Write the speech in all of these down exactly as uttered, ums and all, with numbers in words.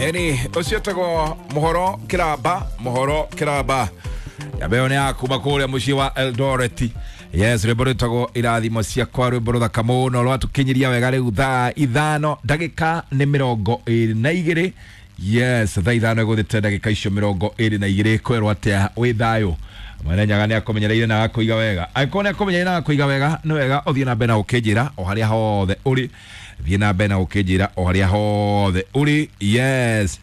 Eni ũcio tagwo Mũhoro Kĩramba, Mũhoro Kĩramba yambeo nĩ ya kuma kũrĩa mũciĩ wa Eldoret. Yes, rwĩmbo rwĩtagwo Irathimo Ciakwa, rwĩmbo rũthaka mũno rwatũkinyiria wega rĩu thaa ithano ndagĩka nĩ mĩrongo ĩrĩ na igĩrĩ. Yes, thaa ithano ĩgũthĩte ndagĩka icio mĩrongo ĩrĩ na igĩrĩ. Kwerwo atĩa wĩ thayũ? Mwene Nyaga nĩ akũmenyereire na agakũiga wega. Angĩkorwo nĩ akũmenyereire na agakũiga wega, nĩ wega ũthiĩ na mbere na gũkĩnjĩra o harĩa hothe ũrĩ. Thiĩ na mbere na gũkĩnjĩra o harĩa hothe ũrĩ. Yes,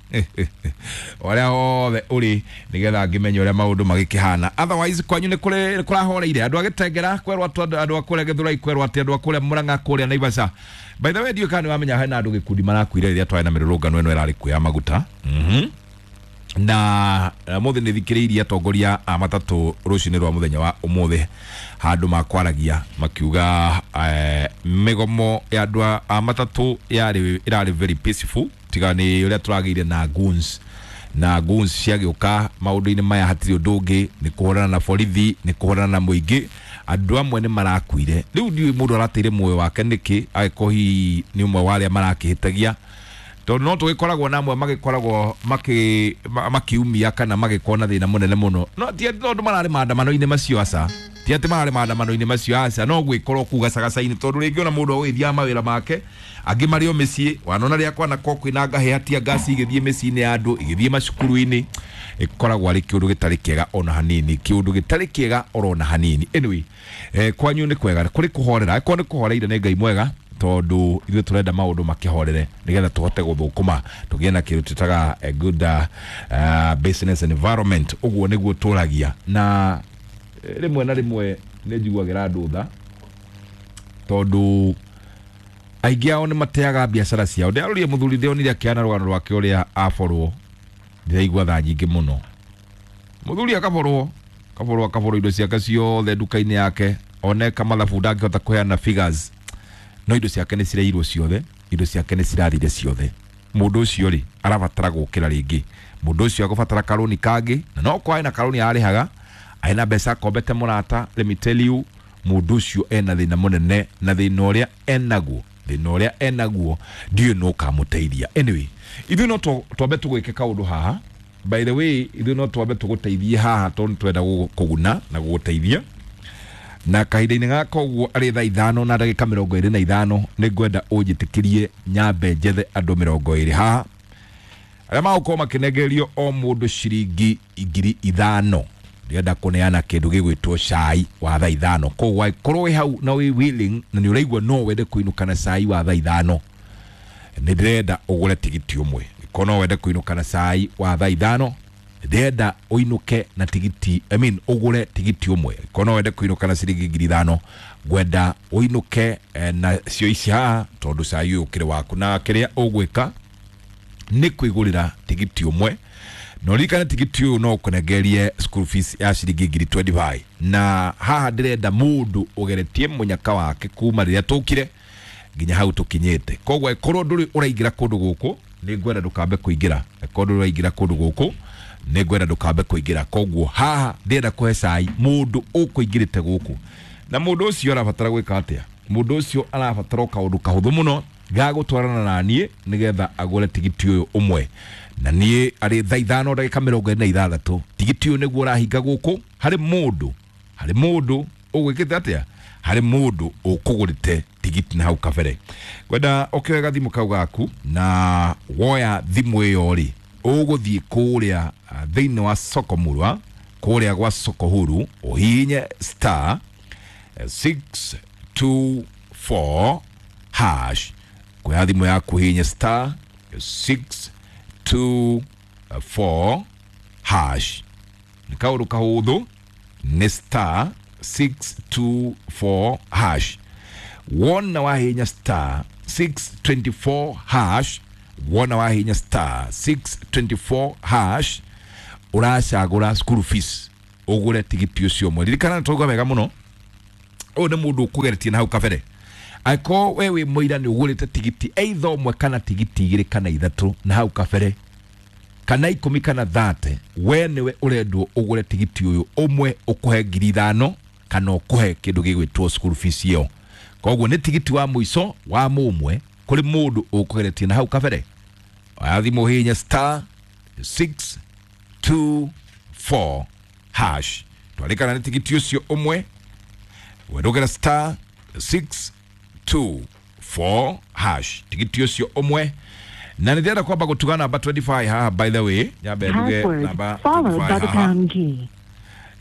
o harĩa hothe ũrĩ, nĩgetha ngĩmenye ũrĩa maũndũ magĩkĩhana. Otherwise kwanyu nĩ kũrĩ kũrahoreire andũ a Gĩtengera, kwerwo atĩ andũ a kũrĩa Gĩthũrai, kwerwo atĩ andũ a kũrĩa Mũrang'a, kũrĩa Naivasha. By the way, ndiũĩ kana nĩ wamenya hena andũ gĩkundi marakuire rĩrĩa twarĩ na mĩrũrũngano ĩno ĩrarĩ kuo ya maguta. Mhm na mũthĩ nĩ thikĩrĩirie atongoria a matatũ rũcinĩ rwa mũthenya wa ũmũthĩ handũ makwaragia makiuga eh, mĩgomo ya andũ a matatũ yarĩ ĩrarĩ very peaceful, tiga nĩ ũrĩa tũragĩire na goons na goons ciagĩũka maũndũ-inĩ maya hatirĩ ũndũ ũngĩ, nĩ kũhũrana na borithi, nĩ kũhũrana na mũingĩ. Andũ amwe nĩ marakuire. Rĩu ndiũĩ mũndũ arateire muoyo wake nĩkĩ, angĩkorwo hihi nĩ ũmwe wa arĩa marakĩhĩtagia, tondũ no tũgĩkoragwo na amwe magĩkoragwo makĩ makiumia kana magĩkorwo na thĩna mũnene mũno. No ti atĩ tondũ mararĩ maandamano-inĩ macio, aca, ti atĩ mararĩ maandamano-inĩ macio, aca, no gwĩkorwo kũu gacagaca-inĩ, tondũ rĩngĩ ona mũndũ agũgĩthiaga mawĩra make, angĩ marĩ o mĩciĩ. Wanona rĩrĩa kwanakwo kwĩna ngahĩha, tia ngasi igĩthiĩ mĩciĩ-inĩ ya andũ, igĩthiĩ macukuru-inĩ, ĩkoragwo arĩ kĩũndũ gĩtarĩ kĩega ona hanini, kĩũndũ gĩtarĩ kĩega orona hanini. Anyway, eh, kwanyu nĩ kwega, kũrĩ kũhorera? Angĩkorwo nĩ kũhoreire, nĩ Ngai mwega, tondũ ithuĩ tũrenda maũndũ makĩhorere nĩgetha tũhote gũthũkũma, tũgĩe na kĩndũ twĩtaga a good uh, uh, business environment. Ũguo nĩguo tũragia. Na eh, rĩmwe na rĩmwe nĩ njiguagĩra andũ tha, tondũ aingĩ ao nĩ mateaga biacara ciao. Ndĩrarorire mũthuri ndĩronire akĩana rũgano rwake ũrĩa aborwo, ndĩraigua tha nyingĩ mũno. Mũthuri akaborwo, kaborwo, akaborwo indo ciake ciothe nduka-inĩ yake. Oneka mathabu ndangĩhota kũheana figures, no indo ciake nĩ cireirwo ciothe, indo ciake nĩ cirathire ciothe. Mũndũ ũcio rĩ, arabatara gũkĩra rĩngĩ. Mũndũ ũcio agũbatara karũni kangĩ, na no kwa ena karũni arĩhaga, ena mbeca akombete mũrata. Let me tell you, mũndũ ũcio ena thĩna mũnene, na thĩna ũrĩa enaguo, thĩna ũrĩa enaguo ndiũĩ no ũkamũteithia. Anyway, ithuĩ no twambe tũgwĩke kaũndũ haha. By the way, ithuĩ no twambe tũgũteithie haha, tondũ nĩ twenda gũkũguna na gũgũteithia na kahinda-inĩ gaka. Ũguo arĩ thaa ithano na ndagĩka mĩrongo ĩrĩ na ithano, nĩ ngwenda ũnjĩtĩkĩrie nyambe njethe andũ mĩrongo ĩrĩ haha arĩa magũkorwo makĩnengererio o mũndũ ciringi ngiri ithano. Ndĩrenda kũneana kĩndũ gĩgwĩtwo cai wa thaa ithano. Koguo angĩkorwo wĩ hau na wĩ willing na nĩ ũraigua no wende kũinũka na cai wa thaa ithano, nĩ ndĩrenda ũgũre tigiti ũmwe. Angĩkorwo no wende kũinũka na cai wa thaa ithano, ndĩrenda ũinũke na tigiti, I mean, ũgũre tigiti ũmwe. Angĩkorwo no wende kũinũka na ciringi ngiri ithano, ngwenda ũinũke eh, na cio ici haha, tondũ cai ũyũ ũkĩrĩ waku. Na kĩrĩa ũgwĩka nĩ kwĩgũrĩra tigiti ũmwe, na ũririkane tigiti ũyũ no ũkũnengerie school fees ya ciringi ngiri mĩrongo ĩrĩ na ithano. Na haha ndĩrenda mũndũ ũgeretie mũnyaka wake kuma rĩrĩa tũkire nginya hau tũkinyĩte. Koguo angĩkorwo ndũrĩ ũraingĩra kũndũ gũkũ, nĩ ngwenda ndũkambe kũingĩra. Angĩkorwo ndũrĩ ũraingĩra kũndũ gũkũ, nĩ ngwenda ndũkambe kũingĩra. Koguo haha ndĩrenda kũhe cai mũndũ ũkũingĩrĩte gũkũ. Na mũndũ ũcio arabatara gwĩka atĩa? Mũndũ ũcio arabatara o kaũndũ kahũthũ mũno ga gũtwarana na niĩ nĩgetha agũre tigiti ũyũ ũmwe na niĩ arĩ thaa ithano ndagĩka mĩrongo ĩrĩ na ithathatũ. Tigiti ũyũ nĩguo ũrahinga gũkũ harĩ mũndũ, harĩ mũndũ ũgwĩkĩte atĩa, harĩ mũndũ ũkũgũrĩte tigiti na hau kabere. Ngwenda ũkĩoe gathimũ kau gaku, na woya thimũ ĩyo rĩ, ũgũthiĩ kũrĩa ah, thĩinĩ wa soko murwa, kũrĩa gwa soko huru, ũhihinye star six two four hash. Kuoya thimũ yaku, hihinye star six two four hash. Nĩ kaũndũ kahũthũ, nĩ star six two four hash. Wona wahihinya star six two four hash, wona wahihinya star six two four hash, ũracagũra school fees, ũgũre tigiti ũcio ũmwe. Ririkana nĩ wega mũno, ũyũ nĩ mũndũ ũkũgeretie na hau kabere. Angĩkorwo we wĩ mũira nĩ ũgũrĩte tigiti either ũmwe kana tigiti igĩrĩ kana ithatũ na hau kabere, kana ikũmi kana thate, we nĩwe ũrendwo ũgũre tigiti ũyũ ũmwe ũkũhe ngiri ithano kana ũkũhe kĩndũ gĩgwĩtwo school fees ĩyo. Koguo nĩ tigiti wa mũico wa mũmwe kũrĩ mũndũ ũkũgeretie na hau kabere. Oya thimũ hihinya star six two four hash. Twarĩkana nĩ tigiti ũcio ũmwe, wendũkĩra star six two four hash, tigiti ũcio ũmwe. Na nĩ ndĩrenda kwamba gũtuga namba twenty-five haha, by the way, nyambe nduge Password namba followed by twenty-five the haha. pound key.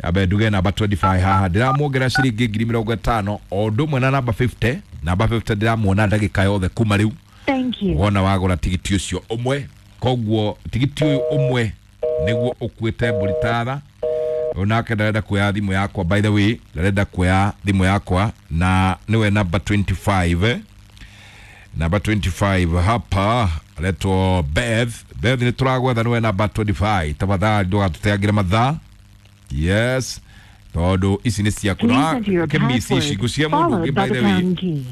Nyambe nduge namba twenty-five haha, ndĩramuongerera ciringi ngiri mĩrongo ĩtano o ũndũ ũmwe na namba fifty. Namba fifty ndĩramuona ndagĩka yothe kuma rĩu. Thank you. Wona wagũra tigiti ũcio ũmwe, koguo tigiti ũyũ ũmwe nĩguo ũkuĩte mbũri tatha. Ũyũ nake ndarenda kuoya thimũ yakwa, by the way, ndarenda kuoya thimũ yakwa, na nĩwe namba twenty-five. Namba twenty-five hapa aretwo Beth. Beth, nĩ tũragwetha, nĩwe namba twenty-five. Tafadhali ndũgatũteangĩre mathaa, yes, tondũ ici nĩ ciaku. Please enter your Kĩmisi ici password ngũcia mũndũ ũngĩ, followed by by the the way, pound key.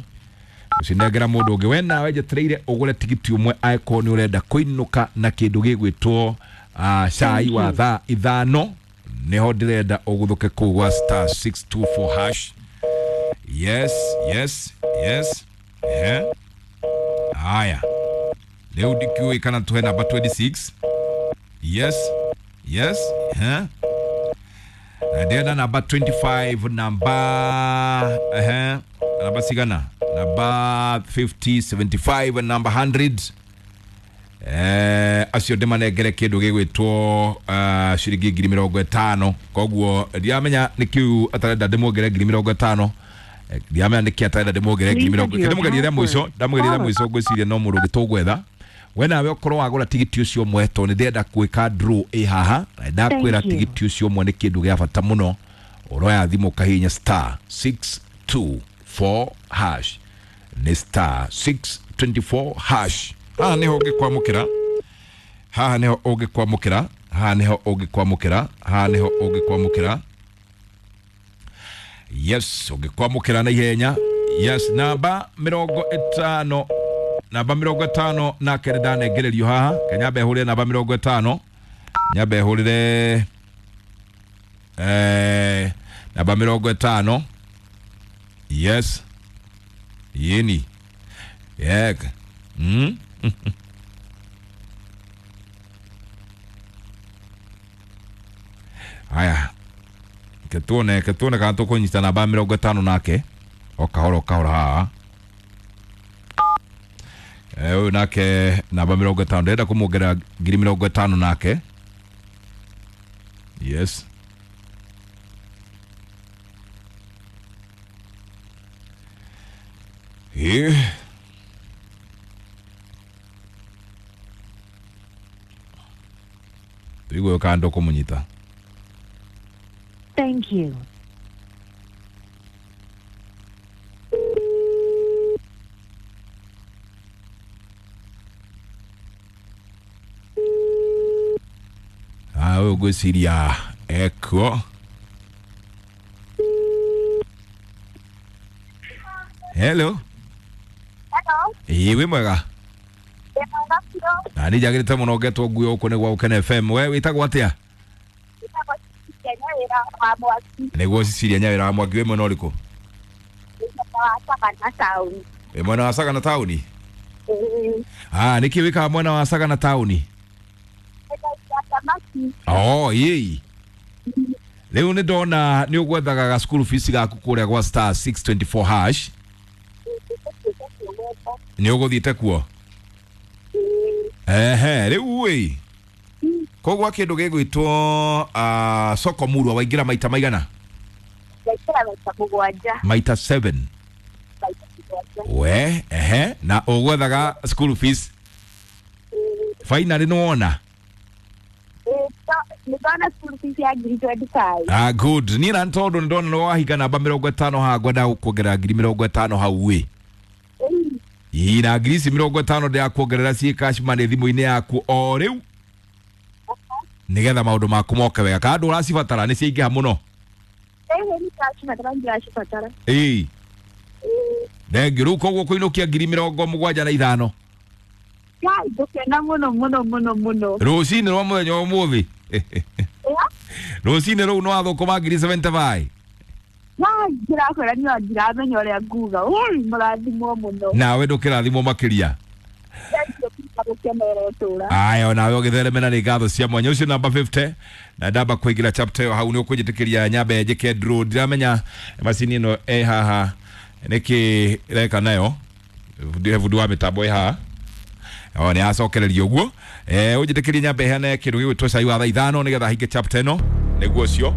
ucinengera mũndũ ũngĩ. We nawe njetereire ũgũre tigiti ũmwe angĩkorwo nĩ ũrenda kũinũka na kĩndũ gĩgwĩtwo uh, cai Thank wa you. thaa ithano. Nĩho ndĩrenda ũgũthũke kũu gwa star six two four hash. Yes, yes, yes. Ehe, haya, rĩu ndikĩũĩ kana tũhe namba twenty-six. Yes, yes. Ehe, na ndĩrenda namba twenty-five, namba, ehe, namba cigana, namba fifty, seventy-five and namba one hundred. Eh, acio ndĩmanengere kĩndũ gĩgwĩtwo uh, ciringi ngiri mĩrongo ĩtano. Koguo ndiramenya nĩ kĩu atarenda ndĩmuongere ngiri mĩrongo ĩtano. Eh, ndiramenya nĩkĩ atarenda ndĩmuongere ngiri Please mĩrongo enter your ndĩmugerie rĩa mũico password ndamũgerie rĩa followed mũico. Ngwĩciria no mũndũ ũngĩ tũgwetha. We nawe ũkorwo wagũra tigiti ũcio ũmwe, tondũ nĩ ndĩrenda gwĩka draw ĩ haha, na ndakwĩra Thank you. tigiti ũcio ũmwe nĩ kĩndũ gĩa bata mũno. Ũroya thimũ ũkahihinya star six two four hash, nĩ star six twenty-four hash. Haha nĩho ũngĩkwamũkĩra, haha nĩho ũngĩkwamũkĩra, haha nĩho ũngĩkwamũkĩra, haha nĩho ũngĩkwamũkĩra. Yes, ũngĩkwamũkĩra na ihenya. Yes, namba mĩrongo ĩtano, namba mĩrongo ĩtano nake nĩ ndanengererio haha. Kenyambe hũrĩre namba mĩrongo ĩtano, nyambe hũrĩre eh, namba mĩrongo ĩtano. Yes, yeni yek mm? Haya, ketuone ketuone kana tũkũnyita namba mĩrongo ĩtano nake o kahora o kahora haha. Eh, ũyũ nake namba mĩrongo ĩtano, ndĩrenda kũmuongerera ngiri mĩrongo ĩtano nake. Yes. Ĩ. Tũigue kana ndũkũmũnyita. Thank you. Ah, ũyũ ngwĩciria ekuo. Hello. Hello. Ĩ, wĩ mwega? Ndĩ mwega biũ. Na nĩ njagĩrĩte mũno ngetwo nguo gũkũ nĩ gwa Gũkena F M. We wĩtagwo atĩa? Njĩtagwo Cecilia Nyawĩra wa Mwaki. Nĩguo Cecilia Nyawĩra wa Mwaki, wĩ mwena ũrĩkũ? Ndĩ mwena wa Sagana taũni. Wĩ mwena wa Sagana taũni? Ĩĩ. Ah, nĩkĩ wĩkaga mwena wa Sagana taũni? Nyendagia thamaki. Oh, ĩĩ, rĩu nĩ ndona nĩ ũgwethaga ga school fees gaku kũrĩa gwa star six twenty-four hash. Ĩĩ, ndĩgũthiĩte kuo. Nĩ ũgũthiĩte kuo? Ĩĩ. Ehe, rĩu ĩ, koguo kĩndũ gĩgwĩtwo uh, soko murwa waingĩra maita maigana? Ndaingĩra maita mũgwanja. Maita seven? Maita mũgwanja. We, ehe, na ũgwethaga school fees. Ĩĩ. Finally nĩ wona? Ĩĩ, to- nĩ ndona school fees ya ngiri twenty five. Ah, good. Niĩ na tondũ nĩ ndona nĩ wahinga namba mĩrongo ĩtano haha, ngwenda gũkuongerera ngiri mĩrongo ĩtano hau ĩ. Ĩĩ. Ĩ, na ngiri ici mĩrongo ĩtano ndĩrakuongerera ciĩ cash money thimũ-inĩ yaku o rĩu, nĩgetha maũndũ maku moke wega. Kana ndũracibatara? Nĩ ciaingĩha mũno? Ĩĩ, nĩ ndacibatara, ndiracibatara. Ĩ. Ĩĩ. Thengiũ. Rĩu koguo kũinũkia ngiri mĩrongo mũgwanja na ithano. Ngai, ngũkena mũno mũno mũno mũno. Rũcinĩ rwa mũthenya wa ũmũthĩ. Ĩa? Rũcinĩ rũu nĩ wathũkũma ngiri seventy-five. Ngai, ndĩrakwĩra niĩ ndiramenya ũrĩa nguga. Ui, mũrathimwo mũno. Nawe ndũkĩrathimwo makĩria. Thank you. Gũkenera ũtũra. Aya, nawe ũgĩthereme na nĩ ngatho cia mwanya. Ũcio namba fifty na ndamba kũingĩra chapter ĩyo hau nĩ ũkũnjĩtĩkĩria nyambe njĩke draw. Ndiramenya macini ĩno ĩ haha nĩkĩ ĩreka nayo, bundi wa mĩtambo ĩ haha o nĩ acokereria ũguo. Eh, ũnjĩtĩkĩrie nyambe heane kĩndũ gĩgwĩtwo cai wa thaa ithano nĩgetha hinge chapter ĩno. Nĩguo ũcio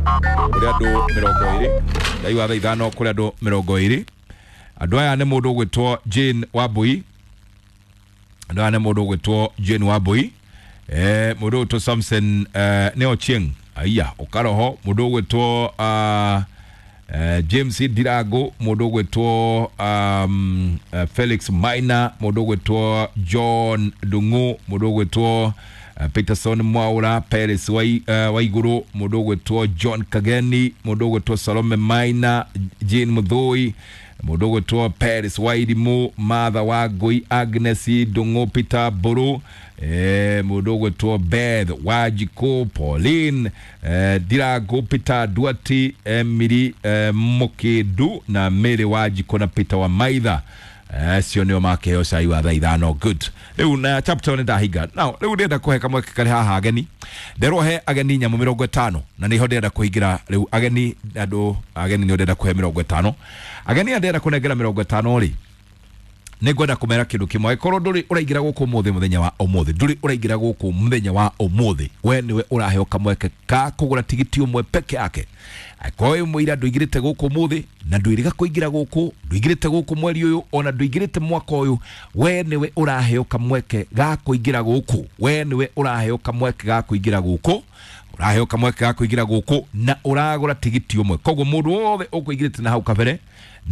kũrĩ andũ mĩrongo ĩrĩ, cai wa thaa ithano kũrĩ andũ mĩrongo ĩrĩ. Andũ aya nĩ mũndũ ũgwĩtwo Jane Wambui, andũ aya nĩ mũndũ ũgwĩtwo Jane Wambui, eh, mũndũ ũgwĩtwo Samson eh, nĩ Ochieng aiya ũkaroho, mũndũ ũgwĩtwo uh, uh, James Ndirango, mũndũ ũgwĩtwo um, uh, Felix Maina, mũndũ ũgwĩtwo John Ndung'u, mũndũ ũgwĩtwo uh, Peterson Mwaura, Peres Wai, uh, Waiguru, mũndũ ũgwĩtwo John Kageni, mũndũ ũgwĩtwo Salome Maina, Jane Muthui, mũndũ ũgwĩtwo Peres Wairimu, Martha Wangui, Agnes Ndung'u, Peter Mburu, eh, mũndũ ũgwĩtwo Beth Wanjikũ, Pauline eh, Ndirango, Peter Duati, Emily eh, Mũkĩndu na Mary Wanjikũ na Peter Wamaitha. Acio nĩo makĩheo cai wa thaa ithano. Good. Rĩu na chapter nĩ ndahinga. Now rĩu ndĩrenda kũhe kamweke karĩ haha ageni. Nderwo he ageni nyamũ mĩrongo ĩtano na nĩho ndĩrenda kũhingĩra rĩu ageni. Andũ ageni nĩo ndĩrenda kũhe mĩrongo ĩtano. Ageni aya ndĩrenda kũnengera mĩrongo ĩtano rĩ, nĩ ngwenda kũmera kĩndũ kĩmwe. Angĩkorwo ndũrĩ ũraingĩra gũkũ ũmũthĩ, mũthenya wa ũmũthĩ ndũrĩ ũraingĩra gũkũ mũthenya wa ũmũthĩ, we nĩwe ũraheo kamweke ka kũgũra tigiti ũmwe peke yake. Angĩkorwo wĩ mũira ndũingĩrĩte gũkũ ũmũthĩ na ndwĩrĩga kũingĩra gũkũ, ndũingĩrĩte gũkũ mweri ũyũ ona ndũingĩrĩte mwaka ũyũ, we nĩwe ũraheo kamweke ga kũingĩra gũkũ. We nĩwe ũraheo kamweke ga kũingĩra gũkũ, ũraheo kamweke ga kũingĩra gũkũ na ũragũra tigiti ũmwe. Koguo mũndũ wothe ũkũingĩrĩte na hau kabere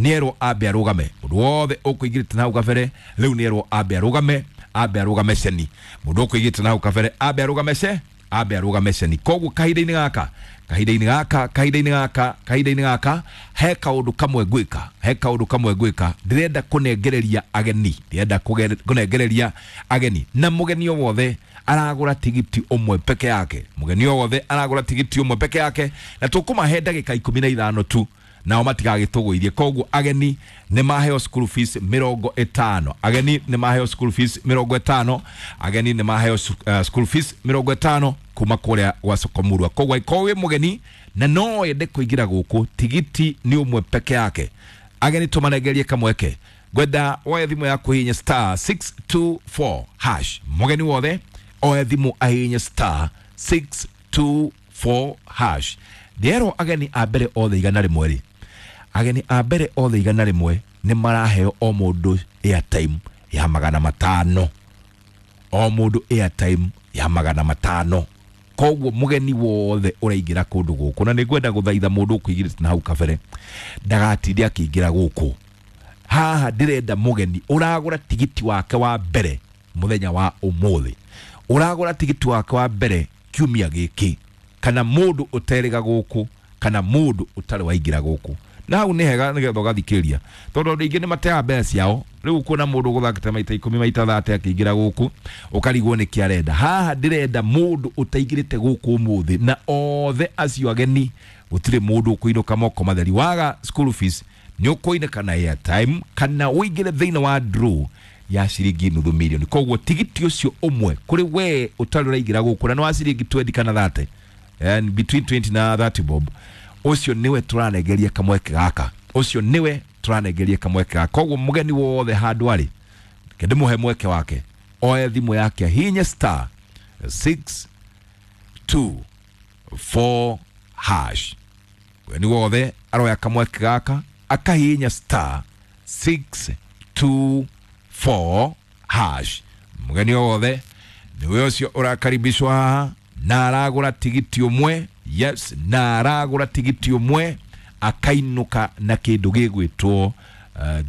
nĩerwo ambe arũgame. Mũndũ wothe ũkũingĩrĩte na hau kabere rĩu nĩerwo ambe arũgame, ambe arũgame ceni. Mũndũ ũkũingĩrĩte na hau kabere ambe arũgame ce ambe arũgame ceni. Koguo kahinda-inĩ gaka kahinda-inĩ gaka kahinda-inĩ gaka kahinda-inĩ gaka he kaũndũ kamwe ngwĩka, he kaũndũ kamwe ngwĩka. Ndĩrenda kũnengereria ageni, ndĩrenda kũge- kũnengereria ageni, na mũgeni o wothe aragũra tigiti ũmwe peke yake. Mũgeni o wothe aragũra tigiti ũmwe peke yake na tũkũmahe ndagĩka ikũmi na ithano tu nao matigagĩtũgũirie. Koguo ageni nĩ maheo school fees mĩrongo ĩtano, ageni nĩ maheo school fees mĩrongo ĩtano, ageni nĩ maheo uh, school fees mĩrongo ĩtano kuma kũrĩa gwa Sokomurwa. Koguo angĩkorwo wĩ mũgeni na no wende kũingĩra gũkũ, tigiti nĩ ũmwe peke yake. Ageni tũmanengerie kamweke. Ngwenda woe thimũ yaku hihinya star six two four hash. Mũgeni wothe oe thimũ ahihinye star six two four hash. Ndĩrerwo ageni a mbere othe igana rĩmwe rĩ, ageni a mbere othe igana rĩmwe nĩ maraheo o mũndũ airtime ya magana matano, o mũndũ airtime ya magana matano. Koguo mũgeni wothe ũraingĩra kũndũ gũkũ, na nĩ ngwenda gũthaitha mũndũ ũkũingĩrĩte na hau kabere ndagatinde akĩingĩra gũkũ. Haha ndĩrenda mũgeni ũragũra tigiti wake wa mbere mũthenya wa ũmũthĩ, ũragũra tigiti wake wa mbere kiumia gĩkĩ, kana mũndũ ũterĩga gũkũ, kana mũndũ ũtarĩ waingĩra gũkũ. Na hau nĩ hega nĩgetha ũgathikĩrĩria, tondũ andũ aingĩ nĩ mateaga mbeca ciao. Rĩu kuona mũndũ ũgũthakĩte maita ikũmi, maita thate akĩingĩra gũkũ, ũkarigwo nĩkĩ arenda. Haha ndĩrenda mũndũ ũtaingĩrĩte gũkũ ũmũthĩ, na othe acio ageni gũtirĩ mũndũ ũkũinũka moko matheri. Waga school fees nĩ ũkũinũka na airtime kana ũingĩre thĩinĩ wa draw ya ciringi nuthu milioni. Koguo tigiti ũcio ũmwe kũrĩ we ũtarĩ ũraingĩra gũkũ na nĩ wa ciringi twenty kana thirty, and between twenty na thirty bob, ũcio nĩwe tũranengeria kamweke gaka, ũcio nĩwe tũranengeria kamweke gaka. Koguo mũgeni wothe handũ arĩ, reke ndĩmũhe mweke wake oe thimũ yake ahihinye star six two four hash. Mũgeni wothe aroya kamweke gaka akahihinya star six two four hash. Mũgeni wothe nĩwe ũcio ũrakaribishwa haha na aragũra tigiti ũmwe. Yes, na aragũra tigiti ũmwe akainũka na kĩndũ gĩgwĩtwo uh,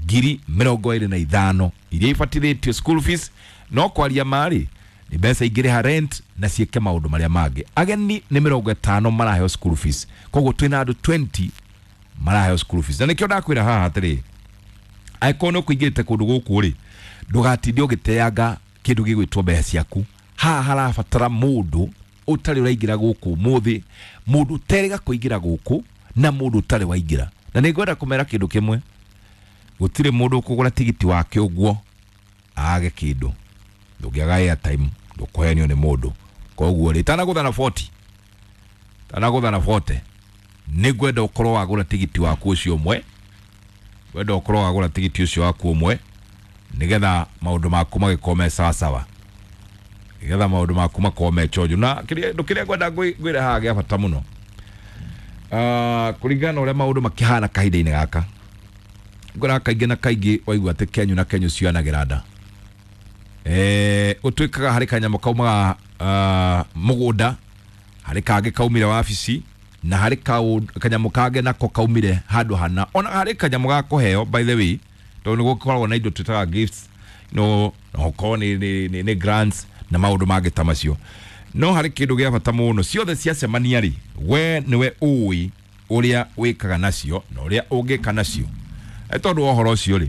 ngiri mĩrongo ĩrĩ na ithano iria ibatithĩtio school fees. No kwaria marĩ nĩ mbeca ingĩrĩha rent na ciĩke maũndũ marĩa mangĩ. Ageni nĩ mĩrongo ĩtano maraheo school fees, koguo twĩna andũ twenty maraheo school fees. Na nĩkĩo ndakwĩra haha atĩrĩ, angĩkorwo nĩ ũkũingĩrĩte kũndũ gũkũ rĩ, ndũgatinde ũgĩteanga kĩndũ gĩgwĩtwo mbeca ciaku. Haha harabatara mũndũ ũtarĩ ũraingĩra gũkũ ũmũthĩ, mũndũ ũterĩga kũingĩra gũkũ na mũndũ ũtarĩ waingĩra. Na nĩ ngwenda kũmera kĩndũ kĩmwe, gũtirĩ mũndũ ũkũgũra tigiti wake ũguo age kĩndũ. Ndũngĩaga airtime, ndũkũhenio nĩ mũndũ. Koguo rĩ, tanagũtha na forty, tanagũtha na forty, nĩngwenda ũkorwo wagũra tigiti waku ũcio ũmwe, ngwenda ũkorwo wagũra tigiti ũcio waku ũmwe nĩgetha maũndũ maku magĩkorwo me sawasawa, nĩgetha maũndũ maku makorwo me chonjo. Na kĩrĩa kĩndũ kĩrĩa ngwenda ngwĩ- ngwĩre haha gĩa bata mũno, Ah, kũringana na ũrĩa maũndũ makĩhana kahinda-inĩ gaka, ngwĩraga kaingĩ na kaingĩ waigua atĩ kenyu na kenyu cionagĩra nda. Eh, gũtuĩkaga harĩ kanyamũ kaumaga ah, mũgũnda, harĩ kangĩ kaumire wabici, na harĩ kaũ- kanyamũ kangĩ nako kaumire handũ hana. Ona harĩ kanyamũ ga kũheo, by the way, tondũ nĩ gũkoragwo na indo twĩtaga gifts, no no ũkorwo nĩ, nĩ, nĩ, nĩ grants na maũndũ mangĩ ta macio. No harĩ kĩndũ gĩa bata mũno, ciothe ciacemania rĩ, we nĩwe ũĩ ũrĩa wĩkaga nacio na ũrĩa ũngĩka nacio. E tondũ wa ũhoro ũcio rĩ,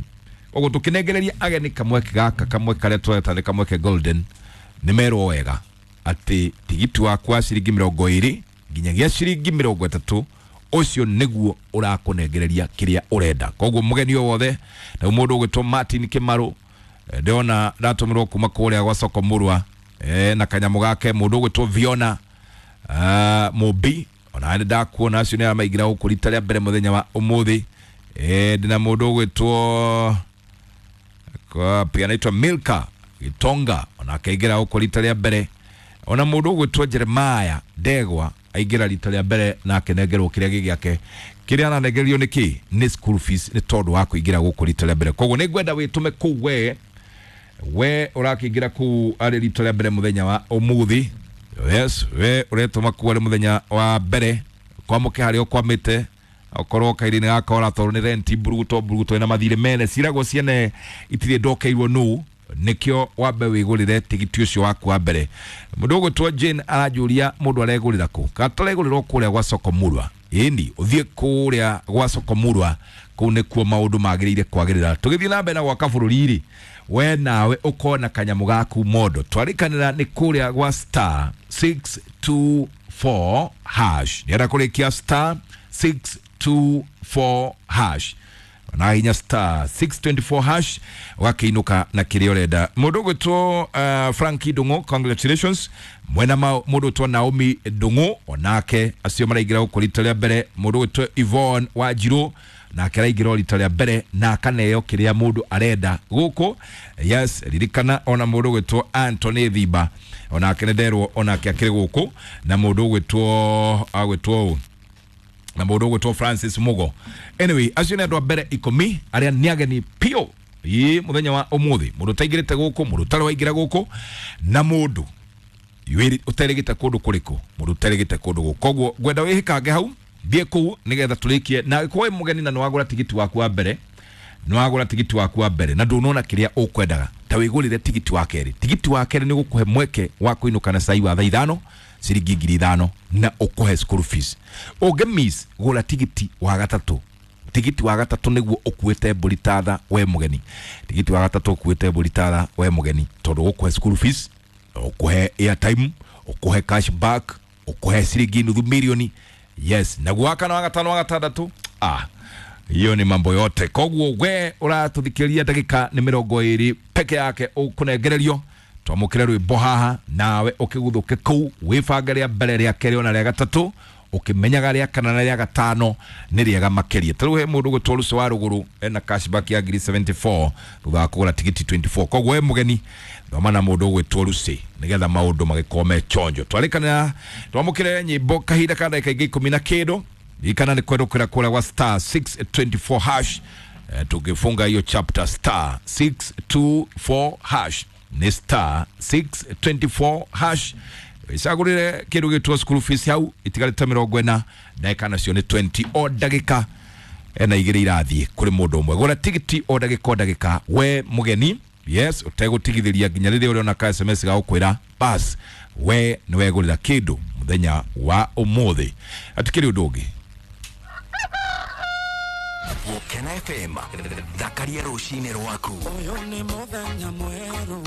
koguo tũkĩnengereria ageni kamweke gaka, kamweke karĩa tũreta nĩ kamweke golden, nĩ merwo wega atĩ tigiti waku wa ciringi mĩrongo ĩrĩ nginyagia ciringi mĩrongo ĩtatũ, ũcio nĩguo ũrakũnengereria kĩrĩa ũrenda. Koguo mũgeni o wothe, na mũndũ ũgwĩtwo Martin Kĩmarũ, eh, ndĩrona ndatũmĩrwo kuma kũrĩa gwa soko mũrwa, eh, na kanyamũ gake. Mũndũ ũgwĩtwo Viona uh, Mũmbi, ona nĩ ndakuona, acio nĩ arĩa maingĩra gũkũ rita rĩa mbere mũthenya wa ũmũthĩ. Eh, ndĩna mũndũ ũgwĩtwo kwa pia anaitwa Milka Gitonga, ona akaingĩra gũkũ rita rĩa mbere. Ona mũndũ ũgwĩtwo Jeremiah Ndegwa aingĩra rita rĩa mbere na akenengerwo kĩrĩa gĩ gĩake. Kĩrĩa aranengererio nĩ kĩ? Nĩ school fees, nĩ tondũ wa kũingĩra gũkũ rita rĩa mbere. Koguo nĩ ngwenda wĩtũme kũu, we we ũrakĩingĩra kũu arĩ rita rĩa mbere mũthenya wa ũmũthĩ. Yes, we ũretũma kũu arĩ mũthenya wa mbere, kwamũke harĩa ũkwamĩte, okorwo kairi-inĩ gaka ũratwarwo nĩ renti mburuguto mburuguto ĩna mathirĩ mene ciragwo ciene itirĩ ndokeirwo nũ, nĩkĩo wambe wĩgũrĩre tigiti ũcio waku wa mbere. Mũndũ ũgwĩtwo Jane aranjũria mũndũ aregũrĩra kũ, kana tũregũrĩrwo kũrĩa gwa soko murwa. Ĩni ũthiĩ kũrĩa gwa soko murwa, kũu nĩkuo maũndũ magĩrĩire kwagĩrĩra. Tũgĩthiĩ na mbere na gwaka bũrũri rĩ, we nawe ũkona kanyamũ gaku mondo. Twarĩkanĩra nĩ kũrĩa gwa star six two four hash, nĩenda kũrĩkia star six two four hash, na hinya star six twenty four hash ũgakĩinũka na kĩrĩa ũrenda. Mũndũ ũgwĩtwo uh, Franki Ndung'u, congratulations. Mwena ma mũndũ ũgwĩtwo Naomi Ndung'u, onake acio maraingĩra gũkũ rita rĩa mbere. Mũndũ ũgwĩtwo Yvonne Wanjirũ nake araingĩra rita rĩa mbere na akaneo kĩrĩa mũndũ arenda gũkũ. Yes, ririkana ona mũndũ ũgwĩtwo Anthony Thimba onake nĩ nderwo onake akĩrĩ gũkũ, na mũndũ ũgwĩtwo agwĩtwo ũ, na mũndũ ũgwĩtwo Francis Mugo. Anyway, acio nĩ andũ a mbere ikũmi arĩa nĩ ageni piũ ĩ mũthenya wa ũmũthĩ. Mũndũ ũtaingĩrĩte gũkũ, mũndũ ũtarĩ waingĩra gũkũ, na mũndũ ũterĩgĩte kũndũ kũrĩkũ, mũndũ ũterĩgĩte kũndũ gũkũ. Koguo ngwenda wĩhĩkange hau, thiĩ kũu nĩgetha tũrĩkie. Na angĩkorwo wĩ mũgeni na nĩwagũra tigiti waku wa mbere, nĩwagũra tigiti waku wa mbere na ndũnona kĩrĩa ũkwendaga, ta wĩgũrĩre tigiti wa kerĩ. Tigiti wa kerĩ nĩ gũkũhe mweke wa kũinũka na cai wa thaa ithano, ciringi ngiri ithano, na ũkũhe school fees. Ũngĩ miss, gũra tigiti wa gatatũ. Tigiti wa gatatũ nĩguo ũkuĩte mbũri tatha we mũgeni. Tigiti wa gatatũ ũkuĩte mbũri tatha we mũgeni, tondũ ũkũhe school fees, ũkũhe airtime, ũkũhe cash back, ũkũhe ciringi nuthu milioni. Yes, naguo wa kana, wa gatano, wa gatandatũ, ah, hiyo ni mambo yote. Koguo we ũratũthikĩrĩria, ndagĩka nĩ mĩrongo ĩrĩ peke yake ũkũnengererio twamũkĩre rwĩmbo haha, nawe ũkĩguthũke kũu wĩbange rĩa mbere, rĩa kerĩ, ona rĩa gatatũ, ũkĩmenyaga rĩa kana na rĩa gatano nĩ rĩega makĩria. Ta rĩu he mũndũ ũgwĩtwo Rũcio wa Rũgũrũ ena cashback ya ngiri seventy four thutha wa kũgũra tigiti twenty four. Koguo we mũgeni, thoma na mũndũ ũgwĩtwo Lucy nĩgetha maũndũ magĩkorwo me chonjo. Twarĩkanĩra twamũkĩre nyĩmbo kahinda ka ndagĩka ingĩ ikũmi na kĩndũ. Ririkana nĩ kwendũkĩra kũrĩa gwa star six twenty four hash. Eh, tukifunga hiyo chapter, star six two four hash, nĩ star six twenty four hash, icagũrĩre kĩndũ gĩtwo school fees hau. Itigarĩte mĩrongo ĩna, ndagĩka nacio nĩ twenty, o ndagĩka ena igĩrĩ irathiĩ kũrĩ mũndũ ũmwe. Gũra tigiti o ndagĩka o ndagĩka we mũgeni, yes, ũtegũtigithĩria nginya rĩrĩa ũrĩona ka S M S ga gũkwĩra bas we nĩ wegũrĩra kĩndũ mũthenya wa ũmũthĩ. Atikĩrĩ ũndũ ũngĩ. Gũkena F M, thakaria rũcinĩ rwaku. Ũyũ nĩ mũthenya mwerũ.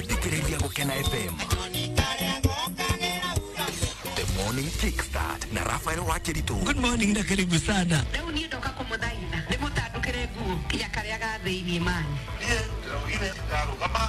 Thikĩrĩria Gũkena F M, The Morning Kickstart na Rafael Wakeritu. Good morning na karibu sana. Rĩu niĩ ndoka kũmũthaitha ndĩmũtandũkĩre nguo. Nĩguo, tiga karĩa ga thĩiniĩ mani. Niĩ ndĩraugire ndarũgama.